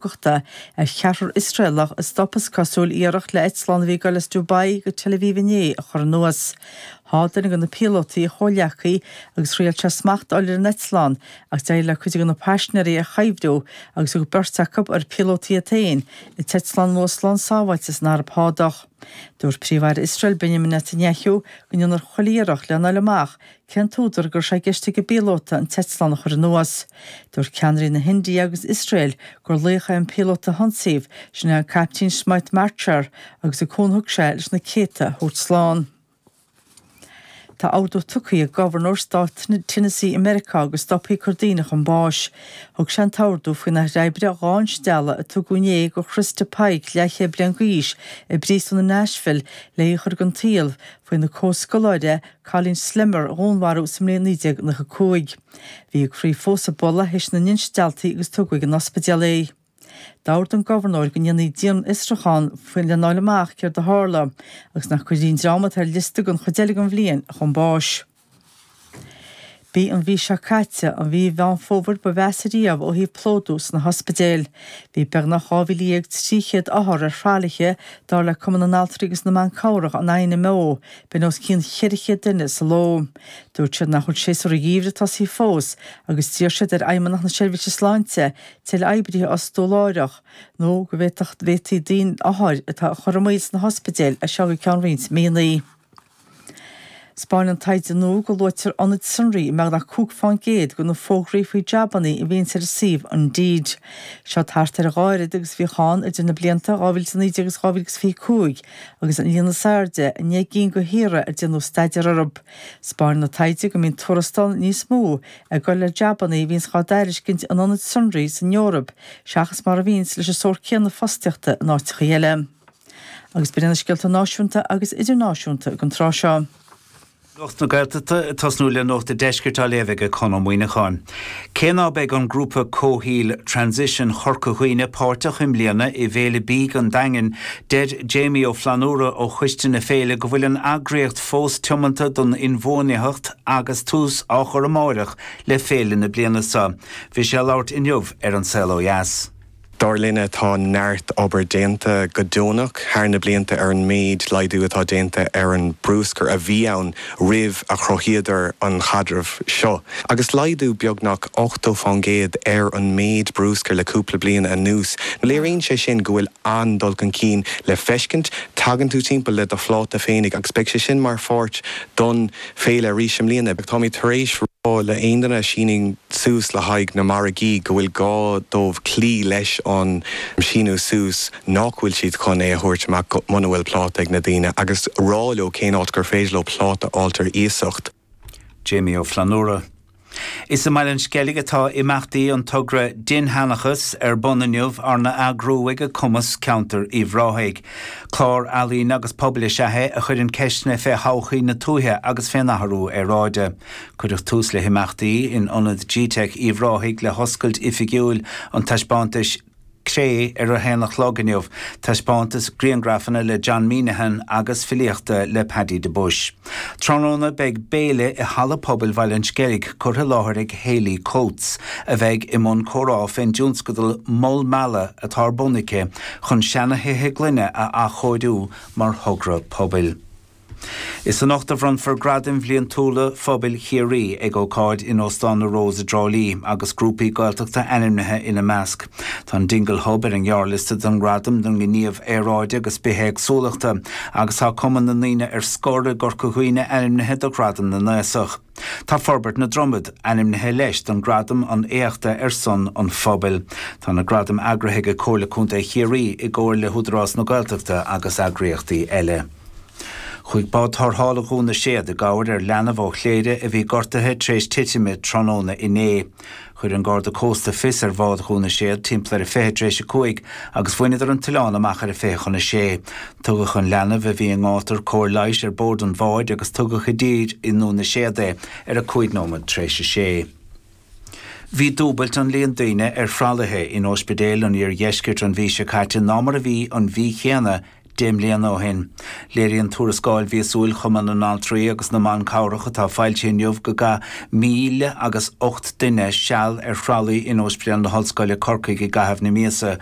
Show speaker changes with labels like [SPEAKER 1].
[SPEAKER 1] Cógachta ar cheathrar Iosraelach a stop, is cosúil, iarracht le eitleán a bhí ag dul as Dubai go Tel Aviv inné a chur anuas. Sháigh duine de na píolótaí a chomhghleacaí agus thriail sé smacht a fháil ar an eitleán ach d'éirigh le cuid de na paisinéirí é a chuibhriú agus thug beirt acu, ar píolótaí iad féin, an t-eitleán anuas slán sábháilte san Araib Shádach. Dúirt Príomh-Aire Iosrael Benjamin Netanyahu go ndéanfar chuile iarracht lena fháil amach Cén t-údar go raibh sé i gceist ag an bpíolóta an t-eitleán a chur anuas? Dúirt ceannairí na hIndia agus Iosrael gur laoch é an píolóta a hionsaíodh, sin é an Caiptín Smit Marcher, agus an cúnamh a thug sé leis na céadta a thabhairt slán. Tá ordú tugtha ag gobharnóir stát Tennessee i Meiriceá go stopfaí ag cur daoine chun báis. Thug sé an t-ordú faoin láthair oibre 2 instealladh a tugadh inné do Christa Pike, leathchéad bliain d'aois, i bpríosún i Nashville le í a chur den tsaol faoina comhscoláire Colleen Slemmer a dhúnmharú sa mbliain 1995. Bhí a croí fós ag bualadh théis na n-instealltaí agus tugadh ag an ospidéal é. D'ordaigh an gobharnóir go ndéanfaí dianfhiosrúchán faoi lena fháil amach céard a tharla agus nach gcuirfí an dream atá ar liosta don chuid eile den bhliain chun báis. B'í an mhí seo caite an mhí Mheán Fómhair ba mheasa riamh ó thaobh plódú sna hospidéil. Bhí beagnach 12,300 othar ar thralaithe, dar le Cumann na nAltraí agus na mBan Cabhrach, an INMO, B'in os cionn 400 duine sa ló. Dúirt siad nach bhfuil séasúr an gheimhridh tosaithe fós agus d'iarr siad ar Fheidhmeannacht na Seirbhíse Sláinte tuilleadh oibrithe a fhostú láithreach nó go bhféadfadh bhféadfaí daoine othair atá a chur i mbaol sna hospidéil as seo go ceann roinnt míonna. 'Spáineann taighde nua go luaitear ionaid sonraí i mbeagnach 5 fán gcéad de na fógraí faoi jabannaí a bhíonns ar an suíomh Indeed. Seo thart ar a dhá oiread agus a bhíodh ann idir na blianta 2019 agus 2025 agus an líon is airde i ndeich gcinn de thíortha ar déanadh staidéar orthu. 'Spáineann an taighde go mbíonn tuarastal níos mó ag dul le jabannaí a bhíonns dhá dtairiscint in ionaid sonraí san Eoraip seachas mar a bhíonns leis an sórt céanna fostaíochta in áiteachaí eile. Agus b'in iad na scéalta náisiúnta agus idirnáisiúnta don tráth seo.
[SPEAKER 2] Nuacht na Gaeltachta ag tosnú le Nuacht an Deiscirt á léamh ag Conn Ó Muíneacháin. Cé ná beidh an grúpa comhshaoil Transition Chorca Dhuibhne páirteach i mbliana i bhFéile Bídh an Daingin, deir Jamie Ó Flannúra ó choiste na féile go bhfuil an eagraíocht fós tiomanta don inbhuanaitheacht agus tús á chur amáireach le féile na bliana seo. Bhí sé ag labhairt inniu ar An Saol Ó Dheas.
[SPEAKER 3] Dar linne, tá neart obair déanta go deonach thar na blianta ar an méid laghdú atá déanta ar an brúscar a bhí ann roimh a chruthaíodar an chaidreamh seo. Agus laghdú beagnach 80% ar an méid brúscair le cúpla bliain anuas. Léiríonn sé sin go bhfuil an-dul chun cinn le feiscint. Tagann tú timpeall le do phláta féinig agus beidh sé sin mar pháirt don féile arís i mbliana. Táimid tar éis rá le aon duine a shíníonn suas le haghaidh na margaí go bhfuil gá dóibh cloí leis an síniú suas nach bhfuil siad chun é a thabhairt amach muna bhfuil pláta ag na daoine agus rá leo cén áit gur féidir leo pláta a fháilt ar iasacht.
[SPEAKER 2] Jamie Ó Flannúra. Is i mBaile an Sceilg atá imeachtaí an togra Dinnsheanchas ar bun inniu arna eagrú ag Cumas Ceantair Uíbh Ráthaigh. Clár ealaíne agus pobail is ea é a chuireann ceisteanna fé thodhchaí na tuaithe agus fén athrú aeráide. Cuireadh tús le himeachtaí in Ionad G-Teic Uíbh Ráthaigh le hoscailt oifigiúil an taispeántais Cré ar a haon a chlog inniu, taispeántas griangrafanna le John Meenehan agus filíochta le Paddy de Buis. Tráthnóna beidh béile i Halla Pobail Bhaile an Sceilg curtha i láthair ag Hayley Coates a bheidh i mbun comhrá fén dtionscadal Mol Meala atá ar bun aici chun seana-thithe gloine a athchóiriú mar thogra pobail. Is anocht a bhronnfar Gradaim Bhliantúla Phobail Chiarraí ag ócáid in Óstán na Rose i dTrá Lí agus grúpaí Gaeltachta ainmnithe ina measc. Tá an Dingle Hub ar an ghearrliosta don ghradam don ghníomh aeráide agus bithéagsúlachta agus tá Cumann na nDaoine ar Scor i gCorca Dhuibhne ainmnithe do Ghradam na nAosach. Tá Forbairt na Dromad ainmnithe leis don Gradam an Éachta ar son an Phobail. Tá na gradaim eagraithe ag Comhairle Contae Chiarraí i gcomhar le hÚdarás na Gaeltachta agus eagraíochtaí eile. Chuaigh bád tarrthála Dhún na Séad i gcabhair ar leanbh ó Chléire a bhí gortaithe tar éis titime tráthnóna inné. Chuir an Garda Cósta fios ar bhád Dhún na Séad timpeall ar a 5:20 tar éis agus bhaineadar an t-oileán amach ar a 5:40. Tugadh an leanbh a bhí i ngátar cóir leighis ar bord an bháid agus tugadh i dtír i nDún na Séad é ar a 5 nóiméad tar éis a sé. Bhí dúbailt an líon daoine ar thralaithe in ospidéil an iardheiscirt an mhí seo caite ná mar a bhí an mhí chéanna. 10 mbliana ó shin. Léiríonn tuarascáil mhíosúil Chumann na nAltraí agus na mBan Cabhrach atá foilsithe inniu go gcaith 1,008 duine seal ar thralaí in Ospidéal na hOllscoile, Corcaigh i gcaitheamh na míosa.